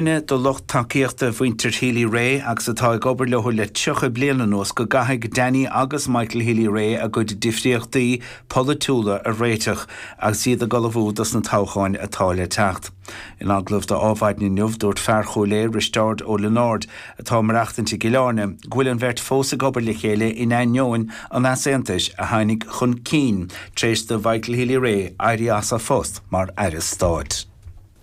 Duine de lucht tacaíochta mhuintir Healy-Rae agus atá ag obair leo le 30 bliain anuas go gcaithfidh Danny agus Michael Healy-Rae a gcuid difríochtaí polaitiúla a réiteach agus iad ag ullmhú dos na toghcháin atá le teacht. In agallamh do Adhmhaidin inniu, dúirt fear Chúil Aodha, Risteárd Ó Lionáird, atá ag maireachtaint i gCill Airne, go bhfuil an bheirt fós ag obair le chéile in ainneoin an easaontais a tháinig chun cinn tar éis do Mhichael Healy-Rae éirí as a phost mar Aire Stáit.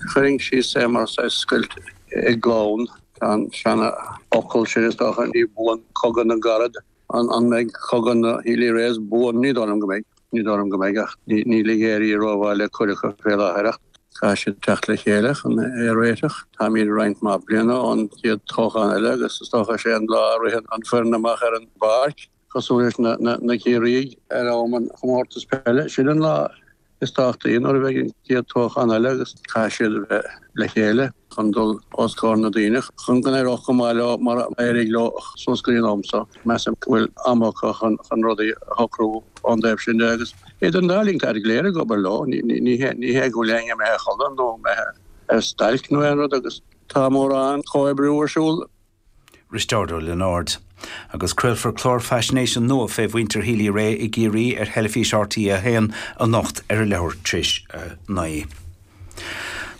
Chuirfinn síos é mar saghas scoilt i gclann. Tá an seana-fhocal sin is dócha, ní buan cogadh na gcarad. An mbeidh cogadh na Healy-Raes buan? Ní dóigh liom go mbeidh. Ní dóigh liom go mbeidh ach níl ag éirí rómhaith le cuid acu fé láthair ach caithfidh siad teacht le chéile chun é a réiteach. Táimid roinnt mhaith bliana ón chéad toghchán eile agus is dócha is é an lá a ritheann an foireann amach ar an bpáirc cosúil leis na Ciarraígh ar am an chomórtas peile. Sin an lá is tábhachtaí nuair a bheidh an chéad toghchán eile agus caithfidh siad a bheith le chéile chun dul os comhair na daoine chun go n-éireodh go maith leo mar a d'éirigh leo suas go dtí an am seo. Measaim go bhfuil am acu chun rudaí a shocrú ón dtaobh sin de agus idir an dá linn táid go léir ag obair leo, ní hé go bhfuil éinne imithe a chodladh nó imithe ar stailc nó aon rud agus tá mórán comhoibriú ar siúl. Risteárd Ó Lionáird. Agus craolfar clár faisnéise nua fé mhuintir Healy-Rae i gCiarraí ar theilifís RTÉ 1 anocht ar a leathuair tar éis a 9.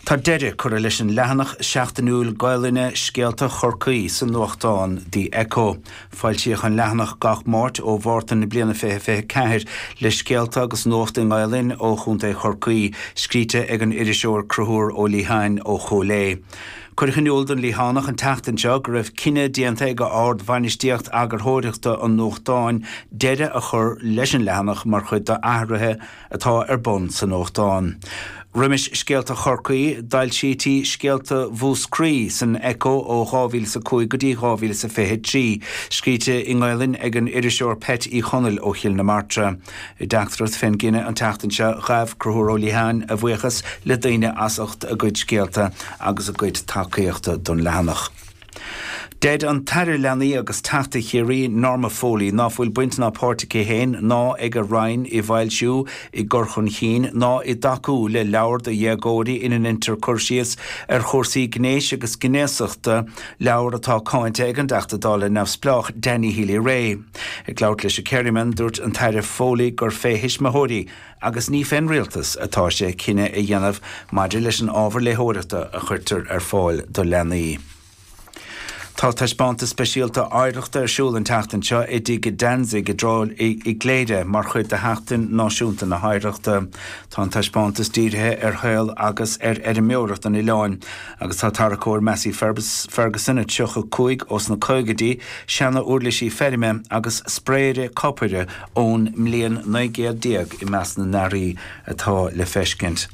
Tá deireadh curtha leis an leathanach seachtainiúil Gaelainne Scéalta Chorcaí sa nuachtán The Echo. Foilsíodh an leathanach gach Máirt ó Mhárta na bliana 2024 le scéalta agus nuacht i nGaelainn ó Chontae Chorcaí, scríte ag an iriseoir Conchúr Ó Liatháin ó Chúil Aodha. Cuireadh in iúl don Liathánach an tseachtain seo go raibh cinneadh déanta ag ard-bhainistíocht eagarthóireachta an nuachtáin deireadh a chur leis an leathanach mar chuid d'athruithe atá ar bun sa nuachtán. Roimis Scéalta Chorcaí, d'fhoilsítí Scéalta Mhúscraí san Echo ó 2005 go dtí 2023, scríte i nGaelainn ag an iriseoir Peait Uí Chonaill ó Chill na Martra. I dteachtaireacht fén gcinneadh an tseachtain seo, ghabh Conchúr Ó Liatháin a bhuíochas le daoine as ucht a gcuid scéalta agus a gcuid tacaíochta don leathanach. Deir an tAire Leanaí agus Teachta Chiarraí, Norma Foley, ná fuil baint ná páirt aici féin ná ag a Roinn i bhfoilsiú, i gcur chun chinn ná i dtacú le leabhar do dhéagóirí ina ndeintear cur síos ar chúrsaí gnéis agus gnéasachta, leabhar atá cáinte ag an dTeachta Dála neamhspleách Danny Healy-Rae. Ag labhairt leis an Kerryman, dúirt an tAire Foley gur fé thuismitheoirí agus ní fén rialtas atá sé cinneadh a dhéanamh maidir leis an ábhar léitheoireachta a chuirtear ar fáil do leanaí. Tá taispeántas speisialta oidhreachta ar siúl an tseachtain seo i dTigh Danzig i gCléire mar chuid de Sheachtain Náisiúnta na hOidhreachta. Tá an taispeántas dírithe ar shaol agus ar fheirmeoireacht an oileáin Agus tá tarracóir Massey Ferguson 35 ós na caogaidí, seana-uirlisí feirme agus spraeire copair ón mbliain 19 céad i measc na n-earraí atá le feiscint.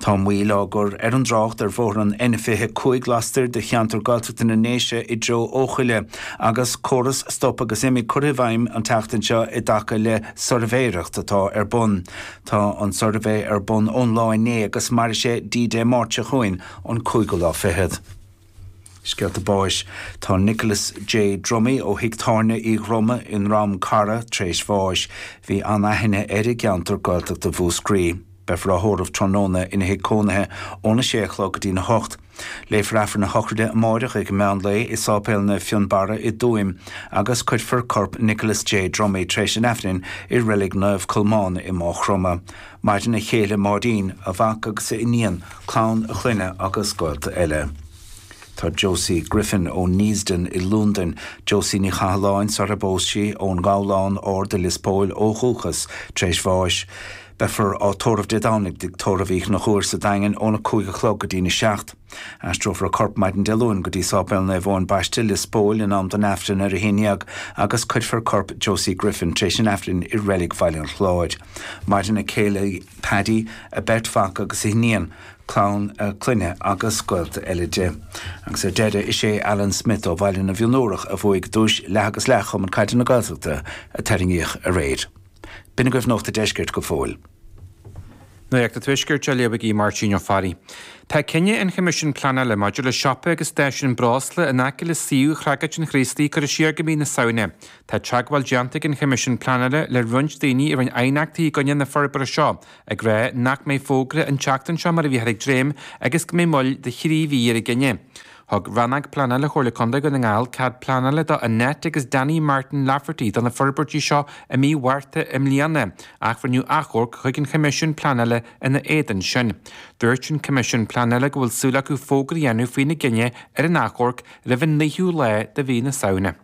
Tá moill á gcur ar an dtrácht ar bhóthar an N25 lastoir de cheantar Gaeltachta na nDéise i dtreo Eochaille agus córas stop agus imigh curtha i bhfeidhm an tseachtain seo i dtaca le suirbhéireacht atá ar bun. Tá an suirbhé ar bun ón lá inné agus mairfidh sé dtí Dé Máirt seo chugainn, an cúigiú lá fichead. Scéalta báis. Tá Nicholas J. Dromey ó thigh tábhairne Uí Dhroma i nDrom Cara tar éis bháis. Bhí an-aithne air i gceantar Gaeltachta Mhúscraí. Beifear á thórramh tráthnóna ina thigh cónaithe óna sé a chlog go dtína hocht. Léifear Aifreann a shochraide amáireach ag meán lae i Sáipéal Naomh Fionnbarra i dTuaim agus cuirfear corp Nicholas J. Dromey tar éis an Aifrinn i Reilig Naomh Colmán i Máigh Chromtha. Maireann a chéile Máirín, a mhac agus a iníon, clann a chlainne agus gaolta eile. Tá Josie Griffin ó Neasden i Lúndain, Josie Ní Chathalláin sar a bpós sí, ón nGabhlán Ard i Lios Póil ó dhúchas, tar éis bháis. Beifear á tórramh Dé Domhnaigh i dTigh Tórraimh Uí Chonchúir sa Daingean óna 5 a chlog go dtína 7. Aistreofar a corp maidin Dé Luain go dtí Sáipéal Naomh Eoin Baiste, Lios Póil in am don Aifreann ar a haon dhéag agus cuirfear corp Josie Griffin tar éis an Aifrinn i Reilig Bhaile an Chláir. Maireann a céile Paddy, a beirt mhac agus a hiníon, clann a clainne agus gaolta eile di. Agus ar deireadh, is é Alan Smith ó Bhaile na bhFionnúrach a bhuaigh duais leath agus leath Chumann Caide na Gaeltachta a tarraingíodh aréir. B'in agaibh Nuacht a' Deiscirt go fóill. Nuacht an Tuaiscirt á léamh ag Máirtín Ó Fearraigh. Tá cinneadh an Choimisiúin Pleanála maidir le siopa agus stáisiún breosla in aice le suíomh Chreagach an Chraoslaigh curtha siar go mí na Samhna. Tá teagmháil déanta ag an Choimisiún Pleanála le roinnt daoine a rinne aighneachtaí i gcoinne na forbartha seo, ag rá nach mbeidh fógra an tseachtain seo mar a bhíothar ag dréim agus go mbeidh moill de thrí mhí ar an gcinneadh. Thug Rannóg Pleanála Chomhairle Contae Dhún na nGall cead pleanála do Annette agus Danny Martin Lafferty do na forbairtí seo i mí Mhárta i mbliana ach rinneadh achomharc chuig an Choimisiún Pleanála ina éadan sin. Dúirt an Coimisiún Pleanála go bhfuil súil acu fógra a dhéanamh faoina gcinneadh ar an achomharc roimh an 9ú lá de mhí na Samhna.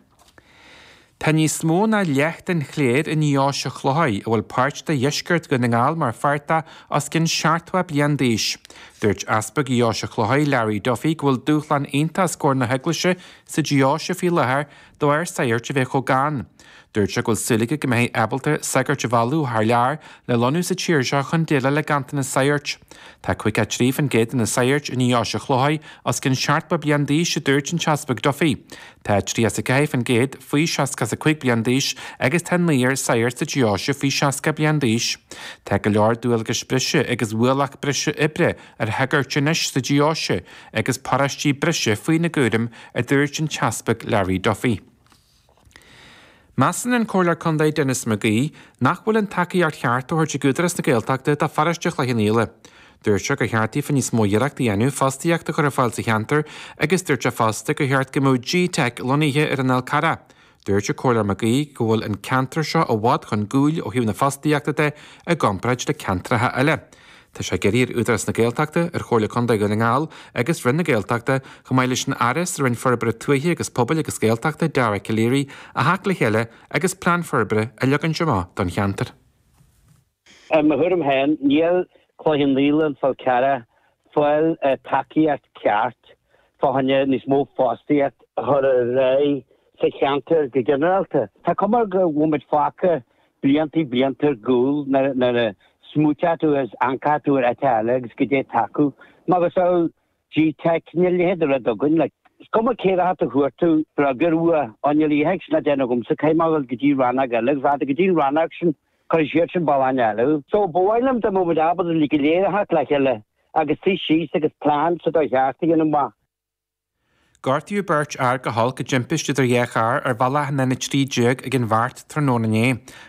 Tá níos mó ná leath den chléir i nDeoise Chlocháin, a bhfuil páirt de dheisceart Dhún na nGall mar pháirt de, os cionn 70 bliain d'aois. Dúirt Easpag Dheoise Chlocháin, Larry Duffy, go bhfuil dúshlán iontach os comhair na hEaglaise sa deoise faoi láthair de bharr saghairt a bheith chomh gann. Dúirt sé go bhfuil súil aige go mbeifí ábalta sagairt a mhealladh ó thar lear le lonnú sa tír seo chun déileáil le ganntanas saghairt. Tá 53% de na saghairt i nDeoise Chlocháin os cionn 70 bliain d'aois, a dúirt an tEaspag Duffy. Tá 34% faoi 65 bliain d'aois agus tá naonúr saghart sa deoise faoi 60 bliain d'aois. Tá go leor dualgais breise agus ualach breise oibre ar shagairt anois sa deoise agus paróistí breise faoina gcúram, a dúirt an tEaspag Larry Duffy. Measann an Comhairleoir Contae Denis McGee nach bhfuil an tacaíocht cheart á thabhairt ag Údarás na Gaeltachta do pharóiste Chloich Cheann Fhaola. Dúirt sé gur cheart daofa níos mó iarracht a dhéanamh fostaíocht a chur ar fáil sa cheantar agus dúirt sé fosta gur cheart go mbeadh G-Teic lonnaithe ar an Fhál Carrach. Dúirt an Comhairleoir McGee go bhfuil an ceantar seo i bhfad chun gcúil ó thaobh na fostaíochta de i gcomparáid le ceantracha eile. Tá sé ag iarraidh ar Údarás na Gaeltachta, ar Chomhairle Contae Dhún na nGall agus Roinn na Gaeltachta, chomh maith leis an Aire sa Roinn Forbartha Tuaithe agus Pobail agus Gaeltachta, Dara Calleary, a theacht le chéile agus plean forbartha a leagaint amach don cheantar. I mo thuairim féin, níl Cloich Cheann Fhaola, an Fál Carrach, fáil tacaíocht ceart fá choinne níos mó fostaíocht a chur ar aghaidh sa cheantar go ginearálta. Tá cuma go bhfuil muid fágtha blianta blianta ar gcúl nuair a smaoiteodh tú is amharcfadh tú ar áit eile agus goidé atá acu. Macasamhail G-Teic, níl a leithéid de rud againn. Like, is cuma cé acu a chuir tú freagra uaidh, á níl a leithéid sin le déanamh agamsa, caithfidh mé a dhul go dtí rannóg eile agus rachadh tú go dtí an rannóg sin, cuirfidh siad sin bealach eile thú. So, ba mhaith liom dá mbeadh muid ábalta go léir a theacht le chéile agus suí síos agus plean sa dóigh cheart a dhéanamh amach. Gortaíodh beirt fhear go holc i dtimpiste idir dhá charr ar bhealach an N13 ag an Bheart tráthnóna inné.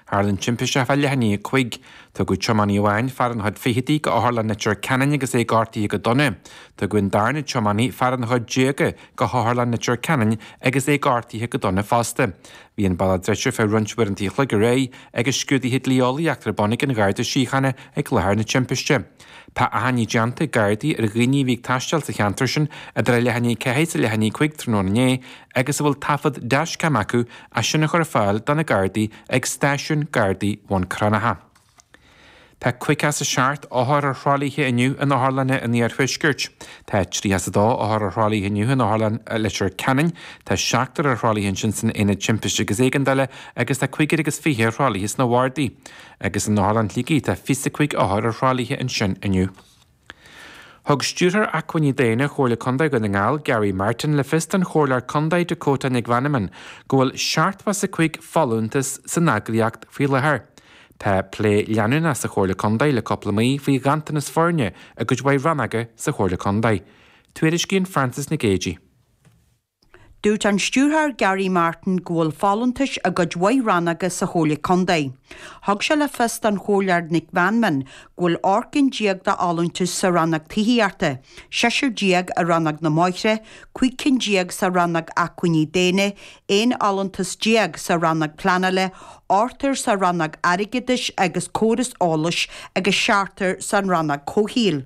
Tharla an timpiste fá leath i ndiaidh a 5. Tugadh tiománaí amháin, fear ina chuid fichidí, go Otharlann Leitir Ceanainn agus é gortaithe go dona. Tugadh an darna tiománaí, fear ina chuid déaga, go hOtharlann Leitir Ceanainn agus é gortaithe go dona fosta. Bhí an bealach druidte feadh roinnt uaireanta an chloig aréir agus scrúduithe dlí-eolaíochta ar bun ag an Gharda Síochána ag láthair na timpiste. Tá achainí déanta ag Gardaí ar dhaoine a bhí ag taisteal sa cheantar sin idir a leath i ndiaidh 4 is a leath i ndiaidh 5 tráthnóna inné agus a bhfuil taifead dashcam acu é sin a chur ar fáil do na Gardaí ag Stáisiún Gardaí Bhun Cranncha. Tá 57 othar ar thralaithe inniu in otharlanna an iarthuaiscirt. Tá 32 othar ar thralaithe inniu in Otharlann Leitir Ceanainn, tá seachtar ar thralaithe ansin san Aonad Timpiste agus Éigeandála agus tá cúigear agus fiche ar thralaithe sna bardaí. Agus in Otharlann Shligigh tá 25 othar ar thralaithe ansin inniu. Thug Stiúrthóir Acmhainní Daonna Chomhairle Contae Dhún na nGall, Gary Martin, le fios don Chomhairleoir Contae Dakota Nic Mheanman go bhfuil 75 folúntas san eagraíocht faoi láthair. Tá plé leanúnach sa Chomhairle Contae le cúpla mí faoi ghanntanas foirne i gcuid mhaith rannóga sa Chomhairle Contae. Tuairiscíonn Frances Nic Géadaigh. Dúirt an Stiúrthóir Gary Martin go bhfuil folúntais i gcuid mhaith rannóga sa Chomhairle Contae. Thug sé le fios don Chomhairleoir Nic Mheanman go bhfuil 18 cinn de fholúntais sa rannóg tithíochta, seisear déag i rannóg na mbóithre, 15 cinn sa rannóg acmhainní daonna, 11 fholúntas sa rannóg pleanála, ochtar sa rannóg airgeadais agus córas eolais agus seachtar san rannóg comhshaoil.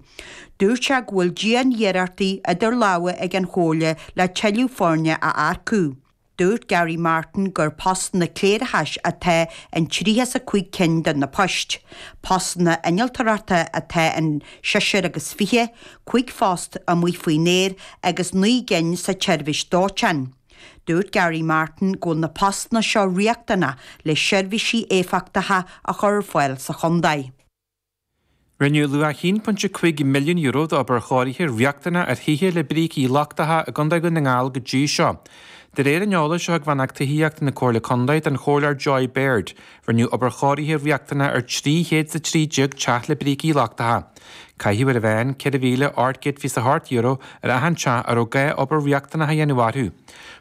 Dúirt sé go bhfuil dian-iarrachtaí idir lámha ag an Chomhairle le tuilleadh foirne a earcú. Dúirt Gary Martin gur postanna cléireachais atá in 35 cinn de na poist. Postanna innealtóireachta atá in seisear agus fiche, 5 phost amuigh faoin aer agus 9 gcinn sa tseirbhís dóiteáin. Dúirt Gary Martin go bhfuil na postanna seo riachtanach le seirbhísí éifeachtacha a chur ar fáil sa chontae. Rinneadh luach €1.5 milliún d'obair chóirithe riachtanach ar thithe le brící lochtacha i gContae Dhún na nGall go dtí seo. De réir an eolais a thug Rannóg Tithíochta na Comhairle Contae don Chomhairleoir Joy Baird, rinneadh obair chóirithe riachtanach ar 313 teach le brící lochtacha. Caitheadh ar an mheán €4,828 ar achan teach a raibh gá obair riachtanach a dhéanamh orthu.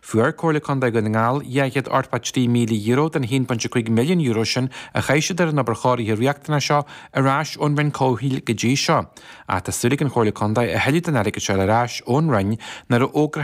Fuair Comhairle Contae Dhún na nGall €283,000 den €1.5 milliún sin a chaith siad ar an obair chóirithe riachtanach seo ar ais ón Roinn Comhshaoil go dtí seo. Ach tá súil ag an Chomhairle Contae a thuilleadh den airgead seo a fháil ar ais ón Roinn nuair a fhógrófar.